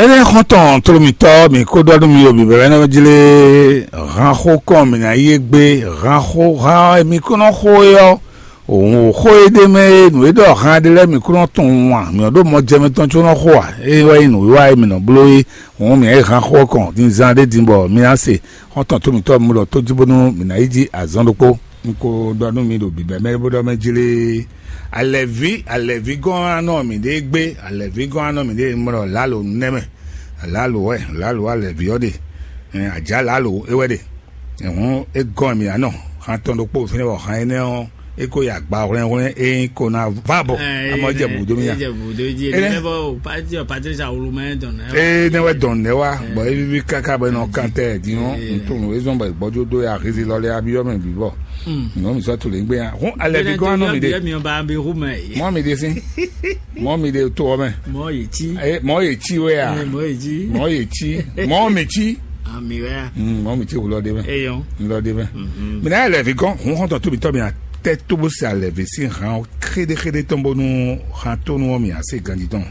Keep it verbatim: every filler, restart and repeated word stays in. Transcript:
Énɛ́ xɔ́ntɔn tló mǐtɔn, mǐ kó ɖɔ nú mi ɖo bǐbɛ́mɛ jlé, hanxó kɔn mǐ ná yi égbé, hanxó han e mi kó nɔ xo é ɔ́, òun xó e ɖ'é mɛ é, nǔ e ɖɔ han ɖé lɛ́ɛ mi kó nɔ tunwun a? Mǐ nɔ ɖo mɔ jɛ mitɔn có nɔ xo a? É wɛ nyí nǔwiwa e mǐ nɔ bló é. Hǔn mǐ nyi hanxó ɔ́ kɔn din zan ɖé din bɔ mi ná se xɔ́ntɔn tómítɔ́ mi lɔ tó jí bónú mǐ ná yi jí azɔn ɖokpó. Un ko ɖɔ nú mi ɖo bǐbɛ́mɛ bó ɖɔ mɛ jlé, alɛ̌ví alɛ̌ví gɔ́n anɔ mǐɖée gbé, alɛ̌ví gɔ́n anɔ mǐɖée mlɔ lǎlo nɛ́ mɛ. Lǎlo wɛ, lǎlo alɛ̌ví ɔ́ ɖe. Ajǎ lǎlo é wɛ ɖe. Hǔn é gɔn mǐ anɔ han tɔn ɖokpó fínɛ́ bɔ han énɛ́ ɔ́ é ko yi agba hwlɛ́nhwlɛ́n é nyí ko ná vá bɔ amɔ jɛ bǔ dó mì nya. Jɛ bǔ dó jí Énɛ́- Levɔ pati ɔ Patricia Olumɛ dɔn nɛ. Ee ne wɛ dɔn nɛ wa bɔ e vivi kaka bɛ nɔ kan tɛ di ŋɔ ntun e zɔn bɛ gbɔdɔ do ya hezi lɔ lɛ abi yɔ mɛ bi bɔ nɔ mi sɔ tu le gbe ya hun alɛ bi gɔn anɔ mi de. Mi ba bi hu mɛ yi. Mɔ mi de si mɔ mi de to ɔ mɛ. Mɔ yi ti. Ee mɔ ye ti wɛ ya. Mɔ yi ti. Mɔ ye ti mɔ mi ti. Ami wɛ ya. Mɔ mi ti wulɔ de mɛ. Eyɔn. Wulɔ de mɛ. Mina yɛ lɛ vi gɔn hun xɔntɔ tobi tɔ mi a tɛ to bo se alɛ vi si hàn o xeɖexeɖe tɔn bonu hàn tonu ɔ mi a se ganji tɔn.